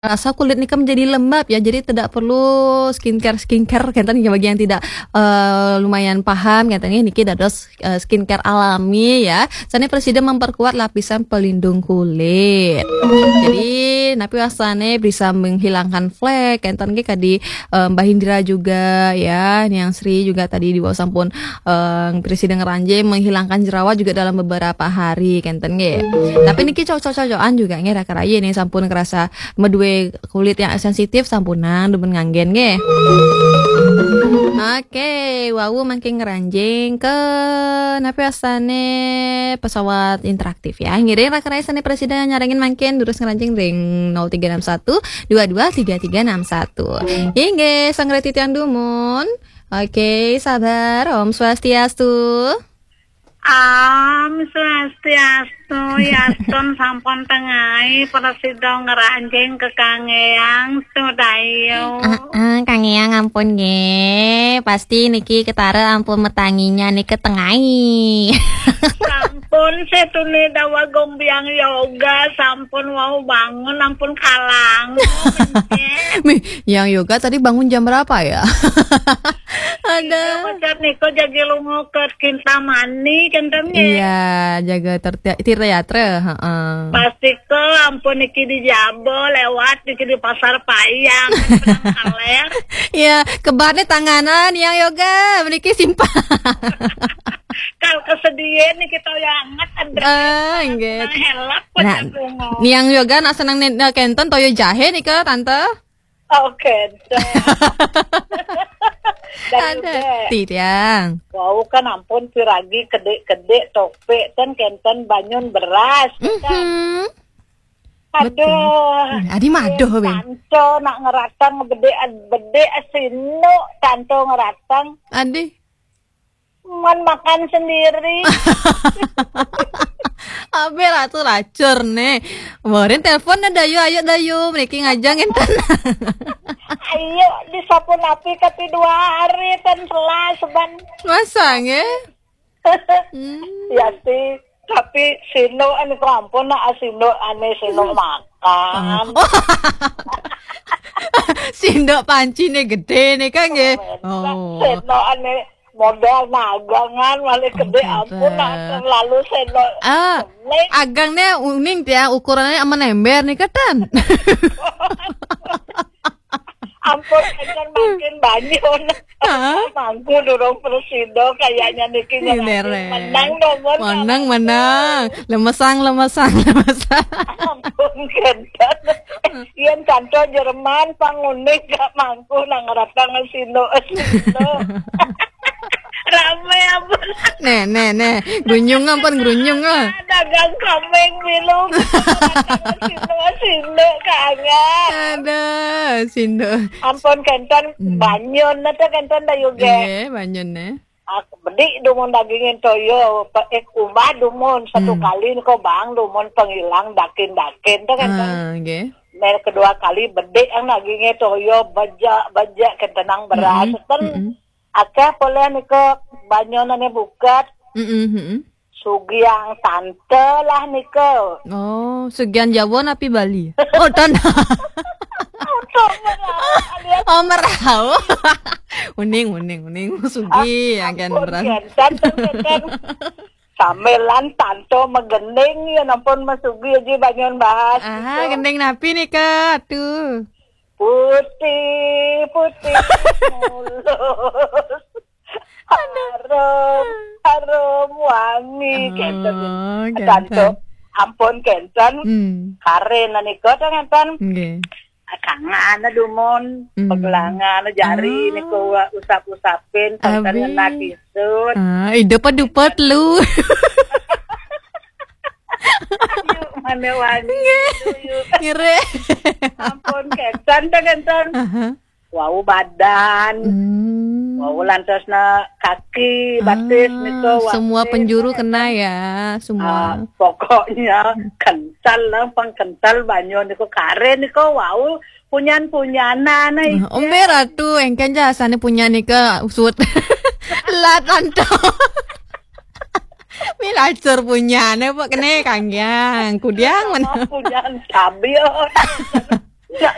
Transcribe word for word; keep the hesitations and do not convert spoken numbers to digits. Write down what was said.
rasa kulit nika menjadi lembab ya, jadi tidak perlu skincare skincare kenten ya, bagi yang tidak eh, lumayan paham kenten ya, niki dados eh, skincare alami ya. Sane presiden memperkuat lapisan pelindung kulit. Jadi napi wasane bisa menghilangkan flek kenten nggih kadi eh, Mbah Indra juga ya, Niang Sri juga tadi di bawah sampun eh, presiden ngeranjing menghilangkan jerawat juga dalam beberapa hari kenten nggih. Tapi niki cocok-cocokan juga nggih raka rayi nih sampun kerasa medue kulit yang sensitif sampunang demen nganggen nggih. Oke, wau mangkin ngeranjing ke napi asane pesawat interaktif ya. Ngiring raka rayi sane presiden nyarengin mangkin terus ngeranjing ring nol tiga enam satu dua dua tiga tiga enam satu. Inggih, sangre titiang dumun. Oke, sabar. Om Swastiastu. Om Swastiastu, yastun sampun tengai, prasida ngranjing ke Kang Eyang, Sudayu. Ah, ah, Kang Eyang ampun nggih. Pasti niki ketara ampun metanginya niki tengai. Sampun setune dawa gombiang yoga, sampun wau bangun, ampun kalang. Mih, yang yoga tadi bangun jam berapa ya? Ada. Macam niko jagi lungo ke Kintamani, kenten nggih. Iya, jaga terti- tirta yatra, heeh. Pasti ke ampun niki di Jabo lewat niki di Pasar Payang, kan pernah kaler. Iya, kebarnya tanganan yang yoga, meniki simpang. Kalau kesedihan nih kita yang anget, Andre. Ah, nggih. Nah, helak, Nah, pecah bungo. Niang yoga nak seneng nih, nah, kenten toyo jahe nih ke tante. Oke, dah. Dan Ada juga, titiang. Wau kan ampun piragi kedik-kedik topik kan kenten banyun beras kan. Mhm. Aduh. Betul. Adi madoh, Ben. Tanto nak ngeratang bedik bedik sinu tanto ngeratang. Adi. Man makan sendiri. Abe ratu lacur nih. Morin telepon na dayu, ayo dayu, mereka ngajang enten. Ayo disapu napi kati dua hari kan telah seban. Masa nge? Hmm. Ya sih, tapi sino anu ampun nak sino ane sino makan. Oh. Sindok panci nih gede nih kan nggih. Oh. Sino ane modal nagangan malah gede ampun nak terlalu sino. Ah, agangnya uning ya ukurannya sama ember nih ketan. Ampun kan makin banyak. Hah? Mangku durung presido kayaknya niki menang dong. Menang menang. Lemesang lemesang lemesang. Ampun kenten. Yen kanto Jerman pangunik gak mangku nang ratang sino sino. Rame ampun. Nih nih nih. Grunyung ampun grunyung ah. Dagang kambing bilu. Sino sino kangen. Ada sino. Ampun kenten banyun nata kenten da yuge. Iya, banyun nih. Bedik dumun dagingin toyo, eh kumbah dumun satu kali niko bang dumun penghilang dakin-dakin tuh kan. Ah, nggih. Mer kedua kali bedik yang dagingnya toyo bejak-bejak kentenang beras. Ten akeh poleh niko banyunane bukat. Mm-mm, mm-mm. Sugiang tante lah niko. Oh, sugiang Jawa napi Bali? Oh, tante. Oh, merau. Uning, uning, uning. Sugi, akan beras. Sambilan tanto megending ya nampun mesugi aja bangun bahas. Ah, gending napi nih kak? Tuh. Putih, putih mulus. Harum, harum wangi. Kenten. Tanto ampun kenten. Karen nika ta kenten. Nggih. Kangen dumun, pegelangan jari niku usap-usapin, kenten ngena kisut. Ah, idep dupet lu. Yuk, mana wangi. Yuk. Ngere. Ampun kenten ta kenten. Wau badan. Wau lantasna kaki, batis niku, wau semua penjuru kena ya, semua. Ah, pokoknya kental lah, pang kental banyu niku karen niku wau punyan-punyanan. Nah, ombe ratu engken jasane punyan nika usut. Lat anto. Milacur punyane apa kene kanggiang kudiang mana? Punyan tabil. Ya,